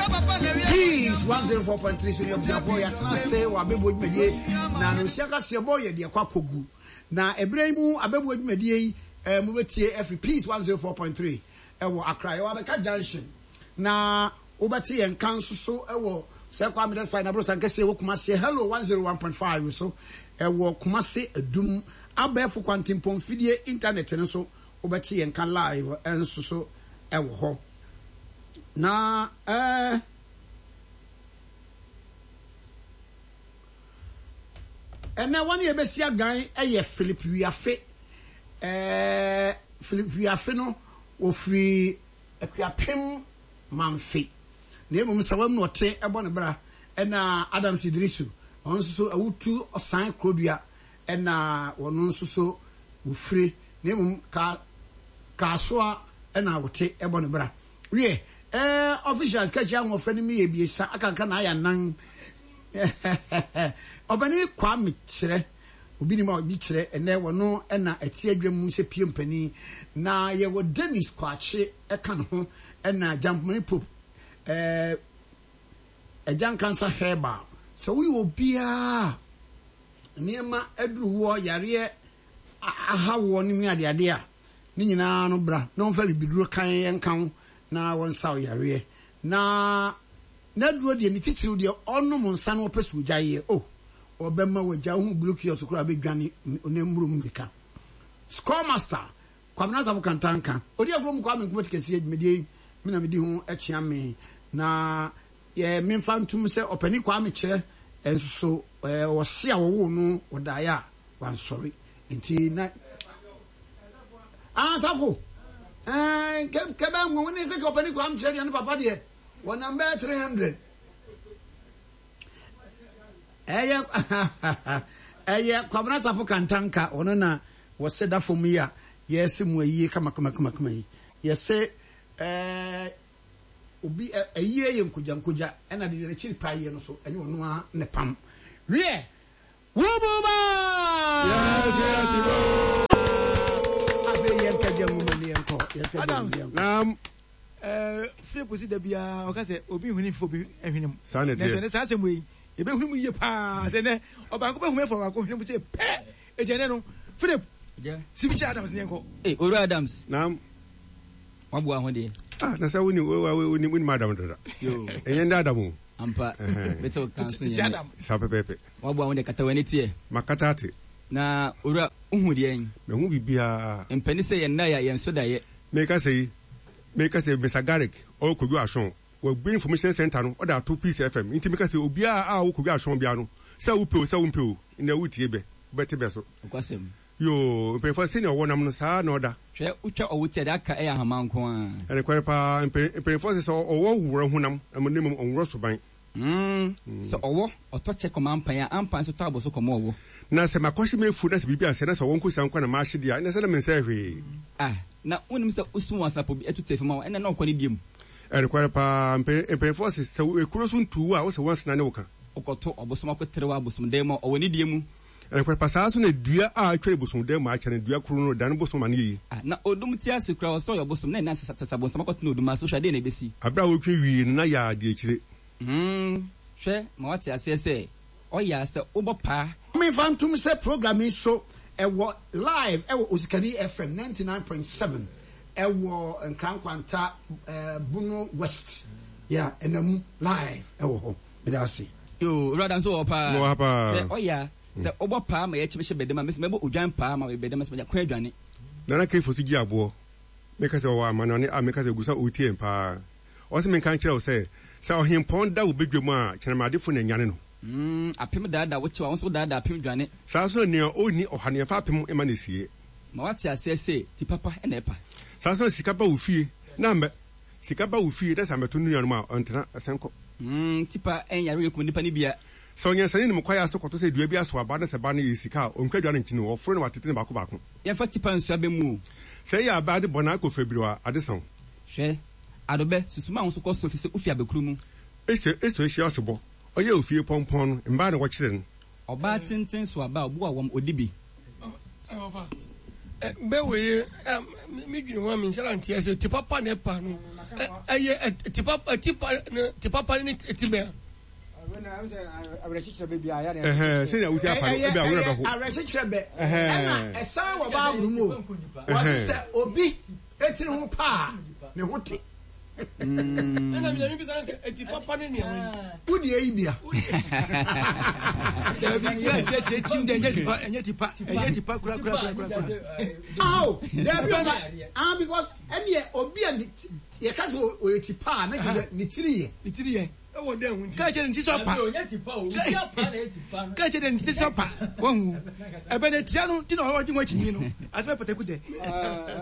Peace 104.3 so ne abusuafoɔ yɛatena ase wɔ abɛbuo dwumadie na no nsia kaseɛ bɔ yɛ deɛ kɔ akɔgu na ɛberɛ yi mu abɛbuo dwumadie yi eh, mobɛtie afiri Peace 104.3 ɛwɔ Accra yɛwɔ abɛka junction na wobɛte yɛn nka nso so ɛwɔ sɛ Kwame Despite na Aborosan kɛseɛ wɔ Kumasi Hello 101.5 so ɛwɔ Kumasi Adum abɛɛfo kwantempɔn fidie internet no so wobɛte yɛn nka live nso so ɛwɔ hɔ na ɛɛ ɛnɛ wɔn a yɛbɛsi agan yɛ Philip Wiafe ɛɛ Philip Wiafe no wɔfiri Akuapem Mamfe na mmom Nsawam na ɔte ɛbɔ ne bra ɛna Adams Idrisu ɔno nso so Awutu Ɔsan Kurodua ɛna wɔn nso so wɔfire na mmom ka Kasoa ɛna wɔte ɛbɔ ne bra. Wiɛ, ɛɛ officials kakyia ahoɔfɛ no meyɛ ebiesa akanka na ayɛ anan. Ɔpanin Kwame kyerɛ, obi nim a obi kyerɛ, ɛnɛ wɔno ɛna ɛte adwa mu sɛ pie mpanin. Na yɛwɔ Dennis Kwakye ɛka ne ho ɛna Gyampomani Pope ɛɛ Agya Nkansa Herbal. Sɛ woyɛ obiara a nneɛma aduru woɔ, yareɛ aha woɔ ne mu adeade a, ne nyinaa no bra na wɔmfa bibiduro kann nka wo na wɔnsa wo yareɛ. Na n'aduro deɛ ne titiriw deɛ ɔnom nsa na ɔpɛ sɛ ɔgyaeɛ oh ɔbɛma wagya wohu blue kiosk koraa bɛdwane ne mmuro mu mmirika. Score master Kwabena Asafo Kantanka ɔdi agorɔ mu Kwame Nkrumah Tikɛseɛ dwumadie yi me na medi ho kyea me na yɛ memfa ntom sɛ ɔpanin Kwame Kyerɛ nso so ɔse a wɔwoo no ɔdaeɛ a wansɔre nti na Ah, Safo, eh, ke, ke bɛ nwo ne se ke ɔpani kwam kyerɛ deɛ ne papa deɛ, wɔnam bɛyɛ 300. Ɛyɛ, ɛyɛ Kwabena Safo Kantanka, ɔno na wɔse da fam yi a yɛse mu ayie kama kama kama kama yi. Yɛse, eh, obi, ayie yɛ nkogya nkogya, ɛna deɛ n'akyiri pa yie no so, ɛnyɛ ɔno ara ne pam. Wiɛ, Wububa! Afei yɛnkɛgye nwoma ni yɛnkɔ. Yɛnkɛgye Adams. yɛnkɔ. Naam. Eh, Philip si da biara ɔka sɛ obi nhuni mfa obi hwene mu. Saa na Nanso ɛteɛ. ɛnɛ saa asɛm wei yɛbɛhunu mu yie paa sɛ nɛ ɔbaako bɛhunu afa ɔbaako hwene mu sɛ pɛ ɛgya nɛ no Philip sibi kyɛ Adams ne yɛnkɔ. Hey, Owura Adams. Naam. Waboa ho deɛ. Ah, na sɛ woni woni woni Adam dada. Yo. Ɛnyɛ ndɛ Adam o. Ampa. Mete wo kan so nyɛ. Adam. Saa pɛpɛɛpɛ. Waboa ho deɛ kata w'ani teɛ. Makata ate. Na owura, wohu deɛn? Mahu biribiara. Mpɛne sɛ yɛn nnae a yɛn so daeɛ. Meka sɛ yi, meka sɛ Mister Garrick ɔwɔ Kojo Ashong, wabue information center no ɔde ato Peace FM, nti meka sɛ obiara a ɔwɔ Kojo Ashong biara no, sɛ wopɛ o sɛ wompɛ o, nnɛ woretie bɛ, wobɛte bɛ so. Nokwasɛm. Yoo, mpanyinfoɔ sɛnea ɔwɔ nam no, saa ara na ɔda. Hwɛ, wotwa ɔwo ti a, deɛ aka yɛ ahama nko ara. Ɛnokware paa, mpanyinfoɔ se sɛ ɔwɔ worɔ honam, na mmom ɔnworɔ suban. Mm, sɛ ɔwɔ, ɔtɔ kyɛ kɔma ampan a, ampan nso tɔ abɔso kɔma ɔwɔ. Na sɛ makɔhye m'afuo na sɛ biribi ansɛe na sɛ ɔwɔ nkosua nko na mahye deɛ a, ɛnneɛ sɛ na mensɛe hwee. Ah, na wonnim sɛ wosum wansapɔ bi atu tiafi ma wo, ɛnna na ɔkɔ ne deɛ mu. Ɛnokware paa, mpanyinfoɔ se sɛ ekuro so ntu wo a, wose wansena ne wo ka. Wokɔto ɔbosom akɔtrɛw abosomdan mu a, ɔwɔ ne deɛ mu. Ɛnokware paa, saa ara nso na dua a atwere bosomdan mu akyɛ no, dua koro no redane bosom ma no yɛ yie. Ah, na odum te ase koraa, ɔsɛ ɔyɛ ɔbosom, na ɛnna sasabonsam akɔtena odum ase, wohwɛ a, deɛn na ɛbɛsi? Bere a wotwe wiei no, na yɛ adi akyire. Hmm, hwɛ ma woate aseɛ sɛ, ɔyɛ a sɛ wobɔ paa. Memfa ntom sɛ program yi so ɛwɔ live ɛwɔ Osikani FM 99.7 ɛwɔ Nkran Nkwanta Bono West yeah ɛna mu live ɛwɔ hɔ meda ase. Yoo owura da nso wɔ hɔ paa. Mewɔ ha paa. Hwɛ ɔyɛ a sɛ wobɔ paa ma yɛkyem hyɛ bɛdam a mesi mɛbɔ odwan paa ma bɛdam sɛ manya kwan adwane. Nana Kefo so gye aboɔ. Meka sɛ ɔwɔ amanɔne a meka sɛ ogu so a ɔretie yɛn paa. Ɔse menka nkyerɛ wo sɛ, sɛ ɔhempɔn da wo badwa mu a, kyerɛmaadefo na anyane no. Mm, apem daadaa wo kyew a, wo nso wodaadaa apem dwane. Saa ara nso na nea onni ɔha no, yɛmfa apem mma no asie. Ma woate aseɛ sɛ ti papa na ɛpa. Saa ara nso na sika ba wo fie na ammɛ, sika ba wo fie na sɛ ammɛto ne nuanom a, ɔntena, ɛsɛn kɔ. Mm, ti pa nyare rekum nnipa no bia. Sɛ ɔnyansani nim kwae ase kɔto sɛ dua bi asow aba na sɛ ba no yɛ sika a, ontwa dua no nkyene o, ɔforo na watete no baako baako. Yɛmfa tipa nsu abɛ mu o. Sɛ eyɛ abɛ ade bɔne akɔ fabiriw a, ade sa wo. Hwɛ, adobɛ, susu ma wo nso kɔ soro efisɛ wufi abɛkuru mu. Eso eso ehyia ɔsebɔ, ɔyɛ ofie pɔmpɔn no, mbaa na wɔkyere no. Ɔbaa tenten so aba a, obu awɔm, odi bi. Ɔfa. Bɛ wei me dwene ho a menhyɛ da nteɛ sɛ ti papa na ɛpa no ɛyɛ ti papa ti pa ti papa ne ti bɛn. Sɛnea wosi apa no ebi a wura bɛho. Awerɛkyekyerɛ bɛ ɛna ɛsan wɔ Bible mu o wɔsi sɛ obi etiri ho paa ne ho te. Ɛna mi bisa sɛ eti papa ne nea wɔyi. Wo deɛ yi bia. Dabi kaa kyerɛ kyerɛ tim dɛ ɛnyɛ tipa ɛnyɛ tipa ɛnyɛ tipa kura kura kura kura kura. Awo dabi ɔba ah because ɛneɛ obi a ne yɛ ka sɛ ɔyɛ tipa a ne kyerɛ sɛ ne tiri yɛ. Ne tiri yɛ. Ɛwɔ dɛ ho nti. Kaa kyerɛ ne ti sɛ ɔpa. Kaa kyerɛ ne ti sɛ ɔpa wɔn ho ɛbɛn ne tia no ti na ɔgye ho akyi no asɛmɛ pataku dɛ.